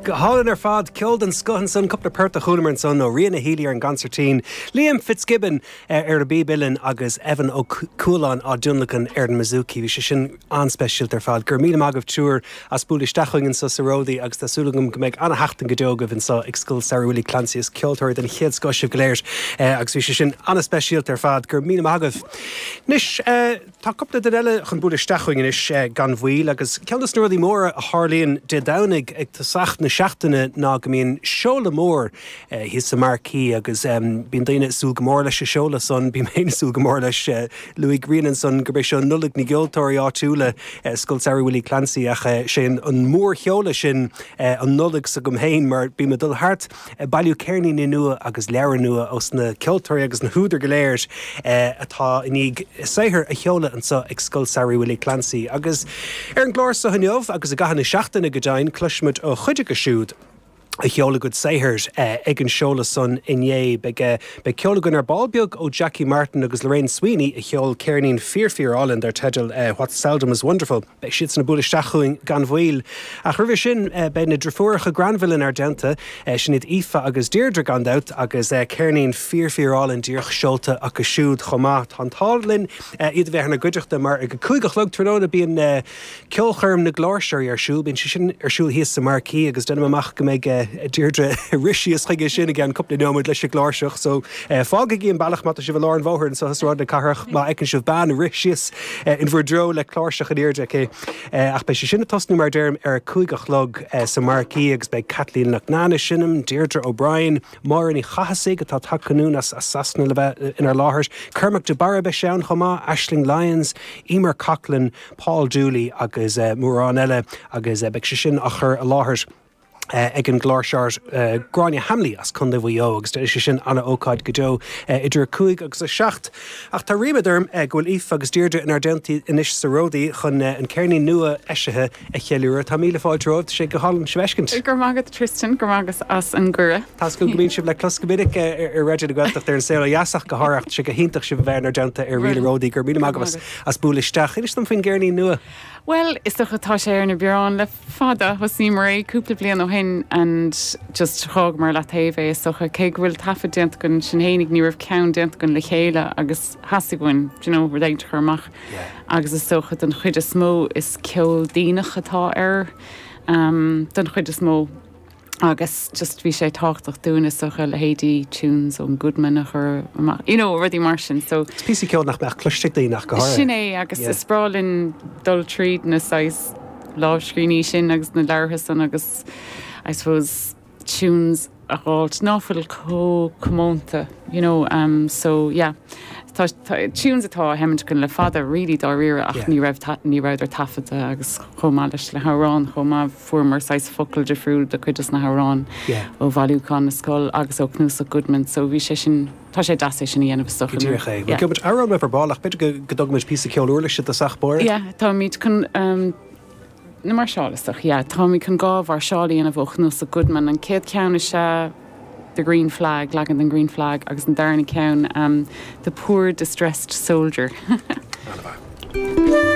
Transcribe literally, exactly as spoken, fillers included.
Go hálainn ar fad ceol den scoth ansan cúpla port a chualamar ansan ó Ríona Healy ar an gconsairtín, Liam Fitzgibbon eh, ar an bpíb uilleann agus Evan Ó Cualáin á dtionlacan ar an mbouzouki. Bhí sé sin an-speisialta ar fad, gur míle maith agaibh triúr as bualadh isteach chugainn anseo sa Ródaí agus tá súil agam go mbeidh an-sheachtain go deo agaibh anseo ag Scoil Samhraidh Willie Clancy is ceoltóirí den chéad scoth sibh go léir eh, agus bhí sé sin an-speisialta ar fad gur míle maith agaibh. Anois eh, tá cúpla duine eile chun bualadh isteach chugainn anois eh, gan mhoill agus ceann de na rudaí móra a tharlaíonn Dé Domhnaigh ag tosach na seachtaine ná go mbíonn seoladh mór eh, thíos sa Marquee agus um, bíonn daoine ag súil go mór leis an seoladh san bím féin ag súil go mór leis uh, luaigh Ríona ansan gurb é seo Nollaig na gceoltóirí áitiúla uh, Scoil Samhraidh Willie Clancy ach uh, sé an, an mórsheoladh sin uh, an Nollaig s'agam féin mar bím ag dul thart uh, bailiú ceirníní nua agus leabhar nua ós na ceoltóirí agus na húdair go léir uh, atá i ndiaidh saothar a sheoladh anseo ag Scoil Samhraidh Willie Clancy agus ar an gclár seo inniu agus i gcaitheamh na seachtaine go deimhin cloisfimid ó chuid acu siúd a sheol a gcuid saothair eh, ag an seoladh san inné beidh beidh ceol againn ar ball beag ó Jackie Martin agus Lorraine Sweeney a sheol ceirnín fíor fíor álainn dar teideal uh, What Seldom is Wonderful. Beidh siad san ag bualadh isteach chugainn gan mhoill. Ach roimhe sin uh, beidh na deirfiúracha Granville inár dteannta uh, sin iad Aoife agus Deirdre gan dabht agus uh, ceirnín fíor fíor álainn díreach seolta acu siúd chomh maith tá an t-ádh linn uh, iad a bheith inár gcuideachta mar ag a cúig a chlog tráthnóna bíonn uh, ceolchoirm na gcláirseoirí ar siúl, bíonn sé sin ar siúl thíos sa Marquee agus déanaim amach go mbeidh uh, Deirdre rith síos chuige sin i gceann cúpla nóiméad leis an gcláirseach, so uh, fágaigí an bealach má tá sibh i lár an bhóthair anseo Sráid na Cathrach má fheiceann sibh bean rith síos uh, in bhur dtreo le cláirseach in airde aici. Uh, ach beidh sé sin ag tosnú mar deirim ar cúig a chlog uh, sa Marquee agus beidh Kathleen Loughnane ag seinm, Deirdre O'Brien, Máire Ní Chathasaigh atá tagtha anonn as as Sasana le bheith inár láthair, Cormac de Barra beidh sé ann chomh maith, Ashling Lyons, Emer Coughlin, Paul Dooley agus uh, mórán eile agus uh, beidh sé sin á chur i láthair. Uh, ag an gcláirseoir uh, Gráinne Hamley as Contae Mhaigh Eo agus sé sin an-ócáid go deo uh, idir cúig agus a seacht. Ach tá ríméad orm uh, go bhfuil Aoife agus Deirdre inár dteannta anois sa Ródaí chun uh, an ceirnín nua eisithe a cheiliúradh Tá míle fáilte romhaibh sé go hálainn sibh a fheiscint. Gur magat Tristan gur magus as an gure. Tá go mbíonn sibh le clos go minic ar Raidió na Gaeltachta ar an saol dheasach go háirithe sé go hiontach sibh a bheith inár dteannta ar Ríle Ródaí gur míle maith agaibh as bualadh isteach. Inis dom faoin gceirnín nua. Well, is dócha tá sé ar na bioráin le fada thosaíomar é cúpla bliain ó shin and just thógamar le taobh é is dócha cé go bhfuil taifead déanta againn sinn féinig ní raibh ceann déanta againn le chéile agus theastaigh uainn you know, rud éigin a chur amach agus is dócha den chuid is mó is ceol déanach atá air um, den chuid is mó agus just bhí sé tábhachtach dúinn is dócha leithéidí tunes ón Goodman a chur amach you know, rudaí mar sin so Is píosa ceol nach mbeadh cloiste ag daoine go háirithe. Sin é agus Yeah. is breá linn dul tríd na saghas lámhscríbhinní sin agus na leabhartha san agus I suppose tunes a fháilt ná fuil chomh comónta you know um, so yeah tá, tá, tunes atá heint chun le fada really dáiríre ach Yeah. ní raibh ní rabhadar taifeadta agus chomh maith leis le hamhráin chomh maith fuaireamar saghas focail difriúil do chuid de na hamhráin Yeah. ó bhailiúchán na scol agus ó chnuasach Goodman so bhí sé sin tá sé deas é sin a dhéanamh is dócha. Díreach é. Yeah. Gheobhaimid amhrán ar ball ach b'fhéidir go go dtógfaimid píosa ceol uirlise i dtosach báire. Yeah, táimid chun um, na máirseáil yeah, táimid chun dhá mháirseáil a dhéanamh ó chnuasach Goodman an chéad cheann is ea the green flag leagan den green flag agus an darna ceann um, the poor distressed soldier. An-mhaith.